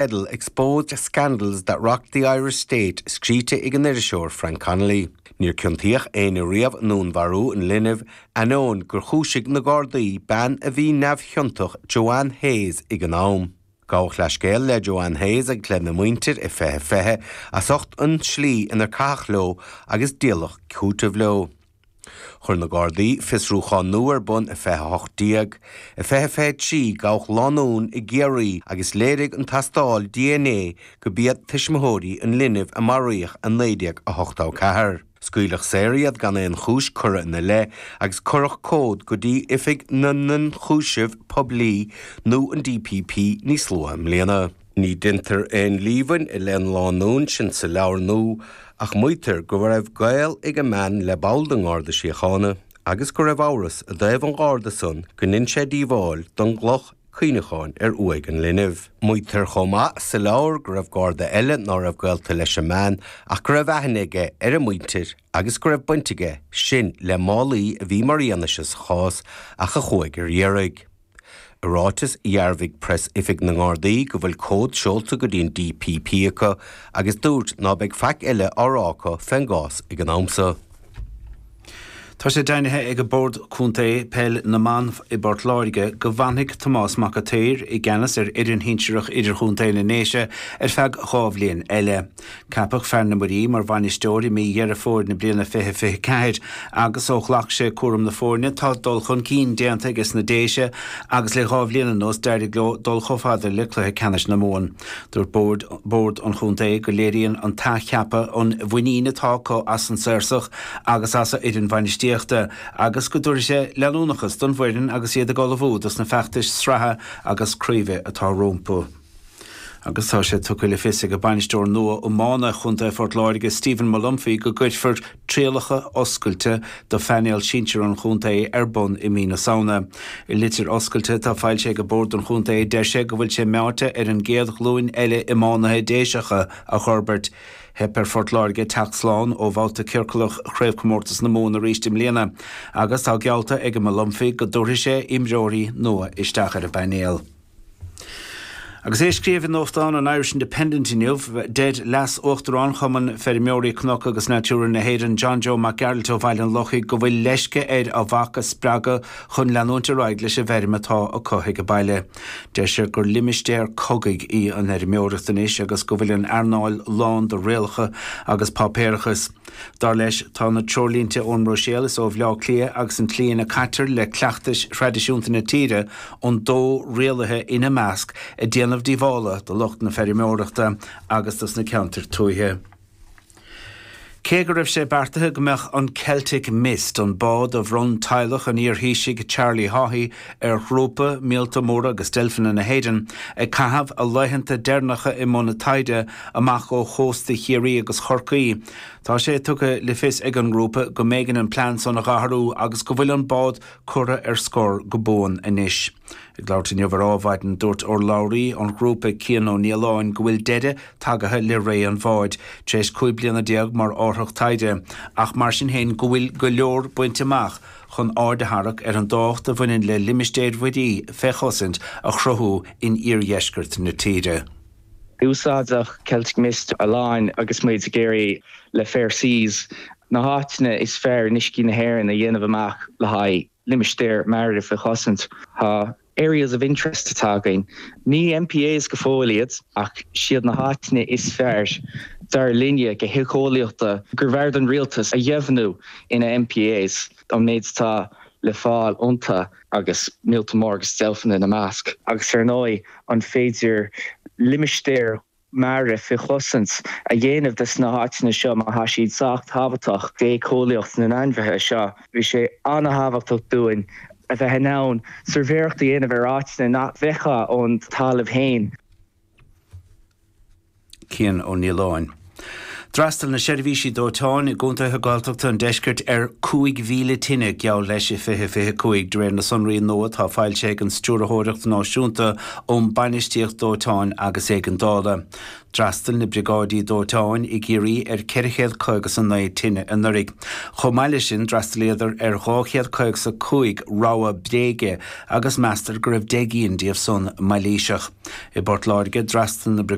Teideal Exposed Scandals That Rocked the Irish State scríte ag an iriseoir Frank Connolly. Níor ciontaíodh éinne riamh i ndúnmharú an linbh, ainneoin gur chúisigh na Gardaí bean a bhí neamhchiontach Joanne Hayes ag an am. Gabhadh leathscéal le Joanne Hayes agus lena muintir i 2020 as ucht an tslí inar caitheadh leo agus díoladh cúiteamh leo. Chuir na Gardaí fiosrúchán nua ar bun i 2018. I 2023, gabhadh lánúin i gCiarraí agus léirigh an tastáil dna go b'iad tuismitheoirí an linbh a maraíodh i 1984. Scaoileadh saor iad gan aon chúis curtha ina leith agus cuireadh comhad go dtí Oifig na nIonchúiseamh Poiblí nó an DPP níos luaithe i mbliana. Ní deintear aon líomhain i leith an lánúin sin sa leabhar nua ach maítear go raibh gaol ag an mbean le ball den nGarda Síochána agus go raibh amhras i dtaobh an Gharda san go ndein sé díobháil don gcloch cuimhneacháin ar uaigh an linbh. Maítear chomh maith sa leabhar go raibh Garda eile ná raibh gaolta leis an mbean ach go raibh aithne aige ar a muintir agus go raibh baint aige sin le málaí a bhí mar fhianaise sa chás ach a chuaigh ar iarraidh. I ráiteas, dhearbhaigh Preas-Oifig na nGardaí go bhfuil comhad seolta go dtí an DPP acu agus dúirt ná beidh faic eile á rá acu fén gcás ag an am so. Tá sé deimhnithe ag Bord Contae Peil na mBan i bPort Láirge go bhfanfaidh Tomás Mac a' tSaoir i gceannas ar fhoireann shinsearach idirchontae na nDéise ar feadh 2 bhliain eile. Ceapadh fear na Muirí mar bhainisteoir i mí Dheireadh Fómhair na bliana 2024 agus ó ghlac sé cúram na foirne tá dul chun cinn déanta aige sna Déise agus le dhá bhliain anuas d'éirigh leo dul chomh fada le cluiche ceannais na Mumhan. Dúirt bord bord an chontae go léiríonn an t-athcheapadh an mhuinín atá acu as an Saorsach agus as a fhoireann bhainistíochta agus go dtabharfaidh sé leanúnachas don bhfoireann agus iad ag ullmhú dos na feachtais sraithe agus craoibhe atá rompu. Agus tá sé tugtha le fios ag bainisteoir nua iomána Chontae Phort Láirge, Stephen Molumphy, go gcuirfear trialacha oscailte do phainéal sinsir an chontae ar bun i mí na Samhna. I litir oscailte atá foilsithe ag bord an chontae, deir sé go bhfuil sé meáite ar an gcéad ghlúin eile iománaithe Déiseacha a fhorbairt. Theip ar Phort Láirge teacht slán ó bhabhta ciorclach Chraobhchomórtas na Mumhan arís i mbliana agus tá geallta ag Molumphy go dtabharfaidh sé imreoirí nua isteach ar an bpainéal. Agus é ag scríobh i nuachtán an Irish Independent inniu, deir Leas-Uachtarán Chumann Feirmeoirí Cnoc agus Natura na hÉireann, John Joe Mac Gearailt ó Bhaile an Lochaigh go bhfuil leisce air a mhac a spreagadh chun leanúint ar aghaidh leis an bhfeirm atá acu ag baile. Deir sé gur limistéar cogaidh í an fheirmeoireacht anois agus go bhfuil an earnáil lán de rialacha agus páipéarachas. Dar leis, tá na treoirlínte ón mBruiséil is ó Bhleá Cliath agus an tslí ina caitear le cleachtais thraidisiúnta na tíre, an dó rialaithe ina measc, ag déanamh díobhála do lucht na feirmeoireachta agus dos na ceantair tuaithe. Cé go raibh sé beartaithe go mbeadh an Celtic Mist, an bád a bhronn teaghlach an iarThaoisigh Charlie Haughey ar ghrúpa Míolta Móra agus Deilfeanna na hÉireann, ag caitheamh a laethanta deireanacha i mbun taighde amach ó chósta Chiarraí agus Chorcaí, tá sé tugtha le fios ag an ngrúpa go mb'éigean an plean san a dh'athrú agus go bhfuil an bád curtha ar scor go buan anois. Ag labhairt inniu ar Adhmhaidin, dúirt urlabhraí an ghrúpa Cian Ó Nialláin go bhfuil deireadh tagaithe le ré an bháid, tar éis 15 bliana mar árthach taighde, ach mar sin féin go bhfuil go leor bainte amach chun aird a tharrac ar an dtábhacht a bhaineann le limistéir mhuirí fé chosaint a chruthú in iardheisceart na tíre. Úsáideadh Celtic Mist a lán agus muid ag iarraidh le Fair Seas na háiteanna is fearr in uiscí na hÉireann a dhéanamh amach le haghaidh limistéir mara faoi chosaint. Tá Areas of Interest atá againn. Ní MPAs go fóill iad ach siad na háiteanna is fearr dar linne go héiceolaíochta gurbh fhearr don rialtas a dheimhniú ina MPAs an méid atá le fáil iontu agus míolta móra agus deilfeanna ina measc. Agus ar ndóigh an féidir limistéir mara faoi chosaint a dhéanamh des na háiteanna seo má tá siad sách tábhachtach d'éiceolaíocht na n-ainmhithe seo. Bhí sé an-thábhachtach dúinn a bheith in ann suirbhéireacht a dhéanamh ar áiteanna nach bhfeicfeá ón talamh féin. Cian Ó Nialláin. D'fhreastail na seirbhísí dóiteáin i gcontaetha Gaeltachta an deiscirt ar 5,000 tine, geall leis, i 2025, de réir na sonraí nua atá foilsithe ag an Stiúrthóireacht Náisiúnta um Bainistíocht Dóiteáin agus Éigeandála. D'fhreastail na briogáidí dóiteáin i gCiarraí ar 459 tine anuraidh. Chomh maith leis sin, d'fhreastalaíodar ar 255 rabhadh bréige agus meastar go raibh 10 gcinn díobh san mailíseach. I bPort Láirge, d'fhreastail na.